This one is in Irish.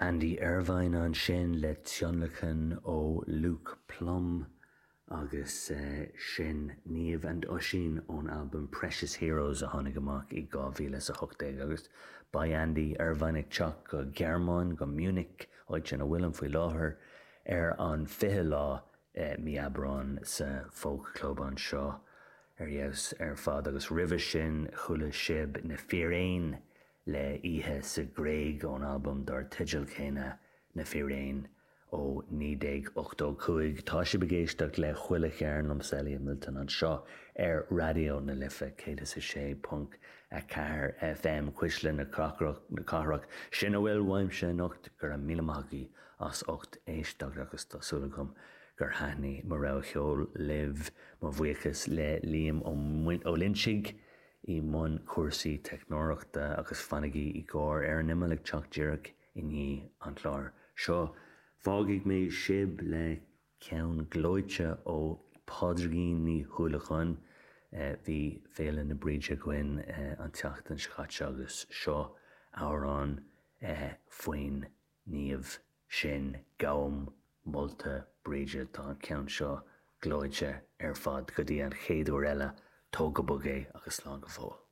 Andy Irvine ansin le tionlacan ó Luke Plumb agus sin Niamh and Oisín ón albam Precious Heroes a tháinig amach i 2018 agus beidh Andy Irvine ag teacht go Gearmáin, go Munich, áit ina bhfuilim faoi láthair, ar an 20 lá mí Aibreáin sa Folk Club anseo ar fheabhas ar fad agus roimhe sin chuala sibh Na Fíréin le Oíche sa Ghréig ón albam dar teideal céanna, Na Fíréin, ó 1985. Tá sibh ag éisteacht le Chuile Chearn liomsa Elliot Milton anseo ar Raidió na Life 106.4 FM, Cuisle na Cathrach. Sin a bhfuil uaimse anocht, go raibh míle maith agaibh as ucht éisteacht agus tá súil agam gur thaitnigh mo rogha cheoil libh. Mo bhuíochas le Liam Ó Loinsigh i mbun cúrsaí teicneoireachta agus fanaigí i gcomhair Ar an Imeall ag teacht díreach i ndiaidh an chláir seo. Fágfaidh mé sibh le ceann gleoite ó Phádraigín Ní Uallacháin. Bhí Féile na Bríde againn an tseachtain seo caite agus seo amhrán faoin naomh sin, Gabhaim molta Bríde, tá an ceann seo gleoite ar fad. Go dtí an chéad uair eile, tóg go bog é agus slán go fóill.